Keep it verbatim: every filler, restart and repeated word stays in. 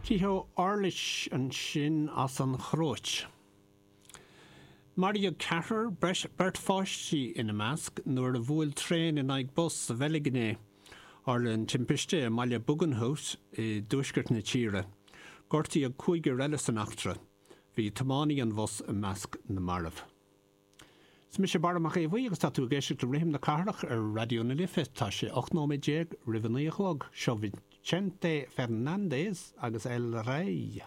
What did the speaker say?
Ticho Orlić ansin as an Chróit. Maraíodh ceathrar beirt pháistí ina measc nuair a bhuail traein in aghaidh bus sa Bheilg inné. Tharla an timpiste i mbaile Buggenhout i dtuaisceart na tíre. Gortaíodh cúigear eile san eachtra. Bhí tiománaí an bhus i measc na marbh. Is mise Barra Mac Aodha Bhuí agus tá tú ag éisteacht le Rithim na Cathrach ar Raidió na Life tá sé ocht nóiméad déag roimh a naoi a chlog seo Vicente Fernández agus El Rey.